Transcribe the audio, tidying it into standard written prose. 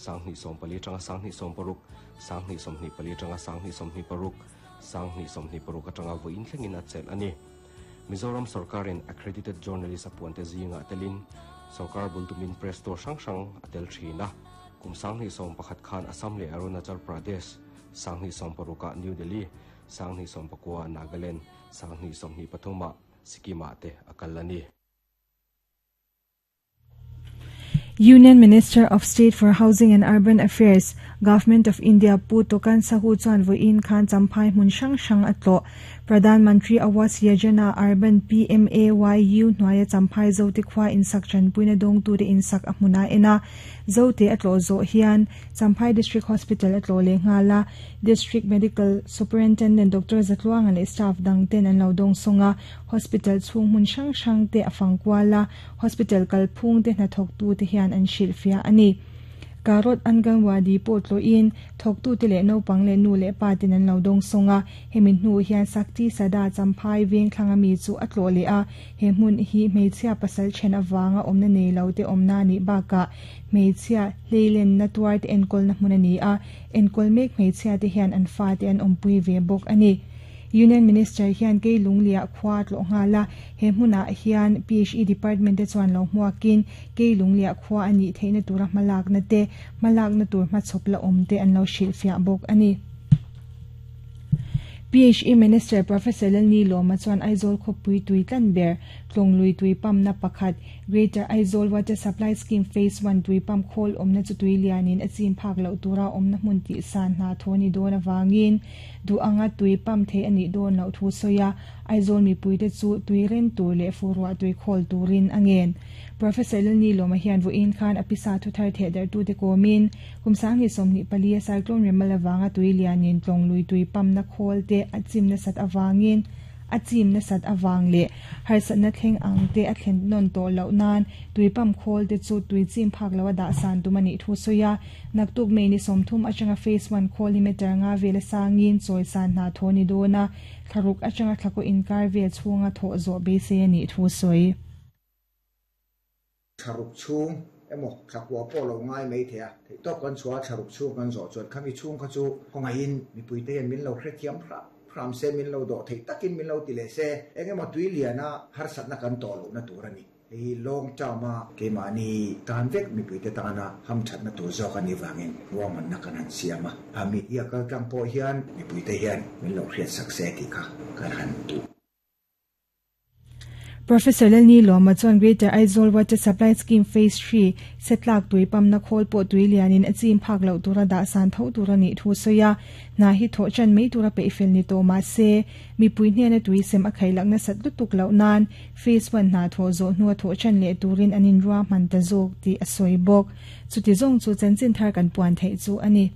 2014 atanga 2016, 2024 atanga 2026, 2026 atanga vawiin thlengin a chelh a ni. Mizoram sorkarin accredited journalist a puante zingah telin sorkar bul tumin press tour hrang hrang a tel thin a. Kum 2011 khan Assam leh Arunachal Pradesh, 2016 ah New Delhi, 2019 ah Nagaland, 2023 ah Sikkim ah te a kal a ni. Union Minister of State for Housing and Urban Affairs, Government of India Pu Tokan Sahu chuan vawiin khan Champhai hmun hrang hrang a tlawh. Pradhan Mantri Awas Yojana Urban, PMAYU, hnuaia Champhai Zote khua insak tanpuina dawngtute insak a hmun a en a. Zote a tlawh zawh hian Champhai District Hospital a tlawh leh nghal a, District Medical Superintendent Doctor Zatluanga leh staff dang ten an lo dawngsawng a, hospital chhung hmun hrang hrang te a fang kual a, hospital kalphung te hnathawktu te hian an hrilhfiah a ni. Karot Anganwadi pawh tlawhin thawktute leh naupang leh nu leh pa ten an lo dawngsawng a, hemi hnu hian Sakti Sada Champhai veng thlanga mi chu a tlawh leh a, he hmun hi hmeichhia pasal then avanga awmna nei lo te awmna nih bakah hmeichhia hleilenna tuar te enkawlna hmun a ni a, enkawl mek hmeichhia te hian an fate an awmpui ve bawk a ni. Union Minister hian kei Lunglia khua a tlawh nghal a, he hmunah hian PHE Department te chuan lo hmuakin kei Lunglia khua a nih theihna tura hmalakna te, hmalakna tur hmachhawp la awm te an lo hrilhfiah bawk a ni. PHE Minister Professor Lalni Lawma chuan Aizawl khawpui tui tlan ber, Tlawnglui tui pump-na pakhat, Greater Aizawl Water Supply Scheme Phase One tui pump khawl awmna chu tui lianin a chim phak loh tura awmna hmun tihsan hna thaw ni dawn avangin duh anga tui pump theih a nih dawn loh thu sawi a, Aizawl mipuite chu tui ren tur leh fuhruah tui khawl turin a ngen. Professor Lalni Lawma hian vawiin khan a pisa thuthar thehdarhtute kawmin kum 2024 a cyclone remal avanga tui lianin Tlawnglui tui pump-na khawl te a chim nasat avangin a chim nasat avang leh harsatna thleng ang te a thlen nawn tawh loh nan tui pump khawl te chu tui chim phak lo a dah san tum a nih thu sawi a. Naktuk May ni 30 atanga Phase One khawl hi meter nga vel a sangin chawi san hna thaw ni dawn a, thlaruk atanga thlakaw inkar vel chhunga thawh zawh beisei a nih thu sawi. Thlaruk chhung emaw thlakua pawh lo ngai mai thei a, theihtawp kan chhuah a thlaruk chhung kan zawh chuan khami chhung kha chu khawngaihin mipuite hian min lo hrethiam hram hram se, min lo dawh theih takin min lo ti leh se, eng emaw tui liana harsatna kan tawh lohna tur a ni. Hei hi long term a keimahni tan vek mipuite tana hamthatna tur zawk a nih vangin ruahmanna kan han siam a, a media kaltlang pawh hian mipuite hian min lo hriatsak se tih kha kan han duh. Professor Lalni Lawma chuan Greater Aizawl Water Supply Scheme Phase Three setlak tui pump-na khawl pawh tui lianin a chim phak loh tura dah san tho tur a nih thu sawi a, hna hi thawh chan mai tura peihfel ni tawh mah se, mipui hnena tui sem a khaih lak nasat lutuk loh nan Phase One hna thawh zawh hnua thawh chan leh turin an inruahman ta zawk tih a sawi bawk. Chuti zawng chu chanchin thar kan puan theih chu a ni.